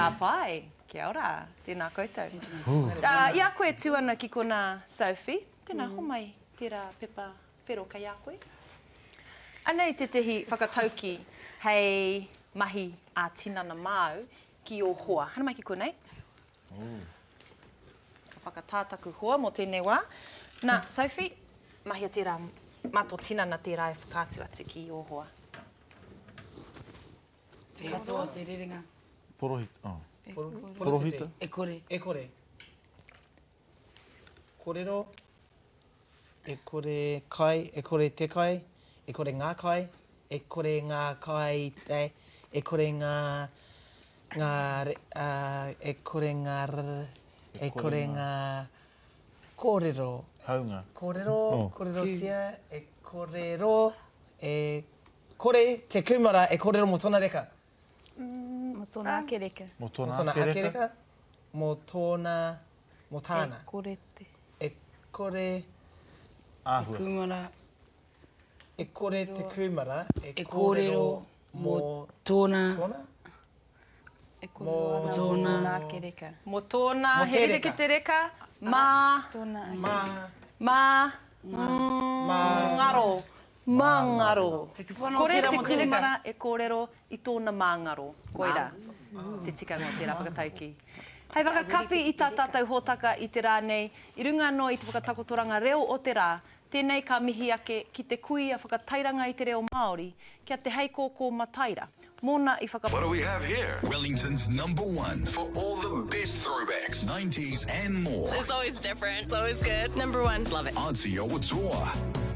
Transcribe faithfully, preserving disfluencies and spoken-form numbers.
Ka pai. Kia ora. Tēnā koutou. Uh, I a koe tū ana ki konā, Sophie, tēnā, homai tērā pepa whero kei a koe. Anei tētehi whakatauki hei mahi ā-tinana māu ki ō hoa. Haere mai ki konei. Ka whakatā taku hoa mō tēnei wā. Nā, Sophie, mahia tērā, mā tō tinana tērā e whakaatu atu ki ō hoa. Te katoa o te rerenga. Porohita. Oh. Porohita. E kore. E kore. Korero. E kore kai, e kore te kai, e kore ngā kai, e kore ngā kai te, e kore ngā, ngā, uh, e kore ngā r, e kore ngā kōrero. Haunga. Kōrero, Oh. kōrerotia, e kōrero, e kore te kūmara e kōrero mō tōna reka. Mō tōna ake reka. Mō Mō tōna tōna ake ake reka. reka. Mō tōna, mō tāna. E kore te. E kore... Āhua. Te kūmara. E kore te kūmara e E kōrero mō tōna. Tōna? E kōrero ana mō Tōna. tōna ake reka. Mō tōna, Mō he te rere reka. ki te reka, mā. Tōna ake. Mā. Mā. Mā. Ngaro. Mā ngaro. He kupu anō Kore tērā te mō te reka. kūmara e kōrero i tōna māngaro. Koirā te tikanga o tērā whakataukī. Hei whakakapi i tā tātou hōtaka i te rā nei, i runga anō i te whakatakotoranga reo o te rā, tēnei ka mihi ake ki te kuia whakatairanga i te reo Māori, kia Te Heikōkō Mataira. Mōna i whaka... What do we have here? Wellington's number one for all the best throwbacks, nineties and more. It's always different. It's always good. Number one. Love it. Aotearoa.